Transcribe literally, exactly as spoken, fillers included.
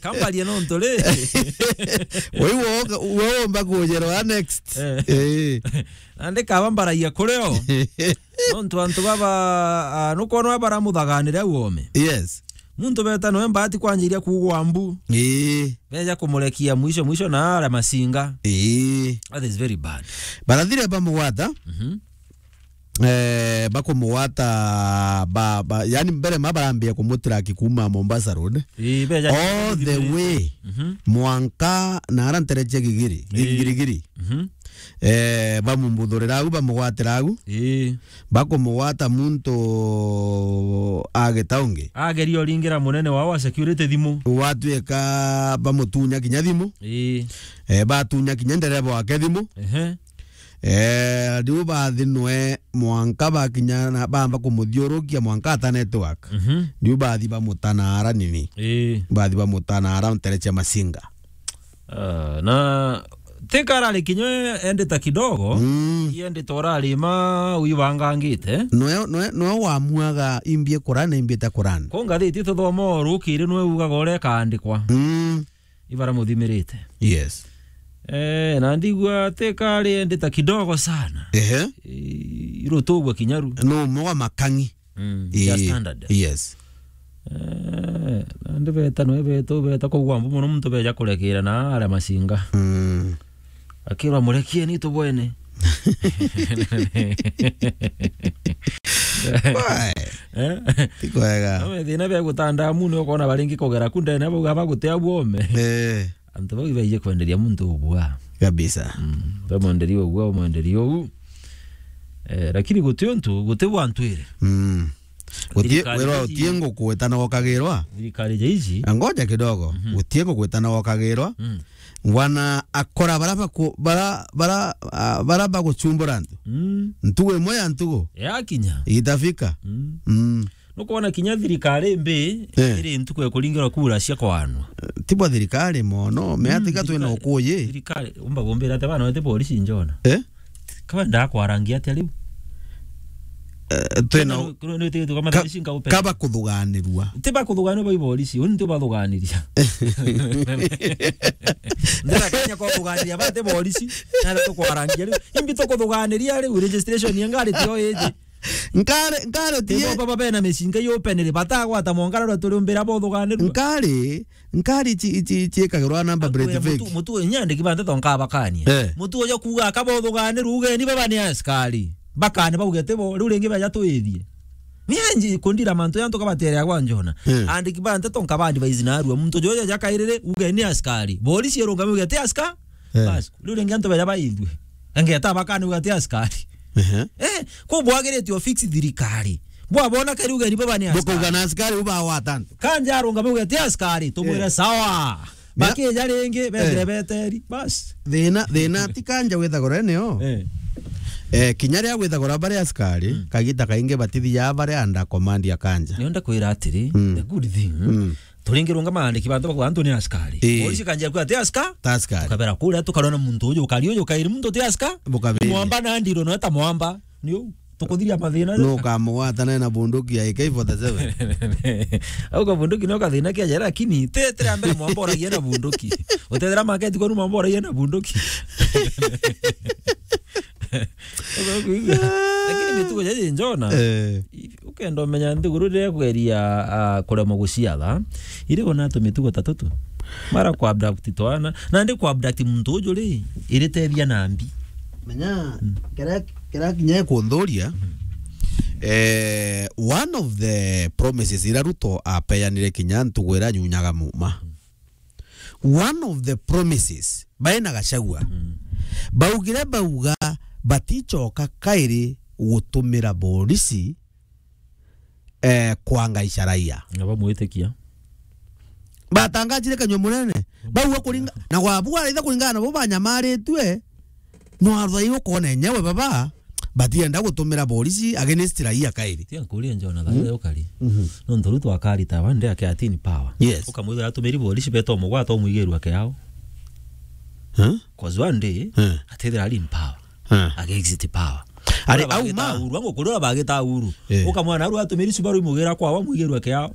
Kambaria no nturi. Wewe woga, wewe omba kujerwa next. Eh. Eh. Nandi kaba mbaragia kurio. Nontu antu baba, ah, nukwona baramuthaganire au ome. Yes. Muntu beta noe mbati kwanjiria kugwa mbu. Ii. Beja kumurekia mwisho mwisho na ara masinga. Ii. That is very bad. Barathire bamugwata. Mhm. Eh, bakumugwata ba, ba, yani mbere ma barambia kumutrack kuma Mombasa Road. Ii, beja all the way. Mhm. Mwanka na ara ntere cia Gigiri, Ii. Gigirigiri. Mhm. Eh, bamumbuthurira au, bamugwatira au. Ii. Bakumugwata muntu agita ungi. Ageria uringira munene wao wa security thimu. Gwatuika bamutunya kinya thimu. Ii. Eh, batunya kinya ndereba wake thimu. Ehe. Eh, riu bathinwe mwanka bakinya na bamba kumuthiurukia mwanka ata network. Mhm. Riu bathi bamutana ara nini. Ii. Bathi bamutana ara ntere cia masinga. Ah, na tika arari kinya endita kidogo, Mm. Iendita urarima uibangangite. Noe, noe, noe wamuaga imbie kurana, imbie ta kurana. Ko ngathiti tuthoma o rukiri noe ugaga uria ikaandikwa. Mm. Ibara muthimirite. Yes. Eh, na ndigua tika ari endita kidogo sana. Ehe. I-, irutugwa kinyaru. No moga makangi. Mm, Ii, ya standard. Yes. Eh, nandi beta noe beta, beta kugwa mbu mono muntu beja kurekera na aria masinga. Mm. Akirwa, "Murekieni tubwene." Wai. Eh? Ti kwega. Ame thina bia gutanda muni ukona baringi kugera ku ndene bauga bagutea buome. Eh. Antu bau ibaije kwenderia muntu ubua. Kabisa. Mm. Bamwenderia ubua, bamwenderia uu. Eh, lakini guti untu, guti bwantwire. Mm. Guti, thirikari wira iji, uti nguku wetana ukagirwa. Thirikari ja iji. Ngoja kidogo. Mhm. Guti nguku wetana ukagirwa. Mm. Wana akora bara baku-, bara, bara, ah, bara baguchumbura antu. Mm. Ntugu imwe ya ntugu. Yakinya. Itafika. Mm. Mm. Nukwona kinya thirikari mbi, Eh. Iri ntuku ya kuringirwa kura cia kwaanwa. Tibwa thirikari mono, meatiga Mm, twina thirikari, ukuyi. Thirikari, umba gumbira ati bana wete polisi njona. Eh? Kaba ndakwarangia atia riu? Eh, twina Kenya nu-, nu-, nu-, tu kama ka-, polisi nga open. Kaba kuthuganirua. Tiba kuthuganirua bai polisi, uni tiba thuganiria. Ndira Kenya kwa kuthuganiria bate polisi, na tukwarangia riu. Imbi tukuthuganiria riu, registration ya ngari tio iji. Nkare, nkare tie. Tibo baba bena micinga yopenere, batagwata mongara rwa turi umbira bothuganirua. Nkare, nkare ici, ici, ici ikagirwa number plate fake. Mutu, mutu, nyandiki bante tonka bakanie. Eh. Mutu uja kuuga akabothuganirua ugeni baba ni askari. Bakane bauge tibo, riu ringi beja twithie. Nienji kundira mantu yantu kabaterea gwa njona. Eh. Andiki bante tonka ba advise narua. Muntu jojo jakairire ugeni askari. Polisi irungame uge ti aska-, Eh. Bas, riu ringi antu beja baithue. Engeta bakani uga ti askari. Ehe. Eh, ko bwagirite o fix thirikari. Bwabona kari ugeni baba ni askari. Bukauga na askari uba wa tantu. Kanja arungame uga ti askari, tumwire Eh. sawa. Ya. Bakija ringi, bethire Eh. beteri. Bas. Thina, thina ti kanja withagura nio. Eh. Eh, kinya ria withagura bari askari, Mm. kagita kaingi batithia bari under command ya kanja. Nionda kwira atiri, Mm. the good thing. Mm. Turingirunga maandiki bantu bakwa antu ni askari. Ii. Polisi kanjia kwa ti aska. Ta askari. Tukabera kuria tukarona muntu uyu ukari uyu kairi muntu ti aska. Bukabiria. Mwamba na ndiro no ta mwamba. Ni u tukuthiria mathina. No kamugwata na na bunduki ya A K forty-seven. Au ka bunduki no kathina kia jera, lakini te tere mbere mwamba oragia na bunduki. Utethera maketi kwa mwamba oragia na bunduki. Ugakuigua. Lakini mitugo jaji njona. Eh. Ukenda umenya nthiguru riria kugeria, ah, kuremwa guciatha, iri ona tumitugo ta tutu. Mara ku abduct twana, na ndi ku abduct muntu uju ri, iri tethia na mbi. Menya, Mm. kira, kira kinya kunthuria, Mm. eh, one of the promises ira Ruto apeanire kinya ntugu ira nyunyaga muma. Mm. One of the promises, bae na Gachagua, Mm. baugire bauga baticoka kairi gutumira borisi, eh, kwanga icaraia. Na bamwitikia. Batangajire kanyua munene. Bauga kuringa-, na gwabu araitha kuringana nabo banyamaritue. No arwai ukona enyewe baba, batienda gutumira borisi against raia kairi. Tia nkuria njona Mm. thayo kari. Mhm. Nontu riu twakarita one day ake atini power. Yes. Ukamwithira atumiri borisi beto mugwata umwigirua kiao. Huh? 'Cause one day, Huh? atethira ari in power. Huh? Age exit power. Ari Ura au bagita ma? Uhuru, angu kuri ura bagita Uhuru. Eh. Ukamwona aru atumiri Subaru imugira kwao amwigirua kiao.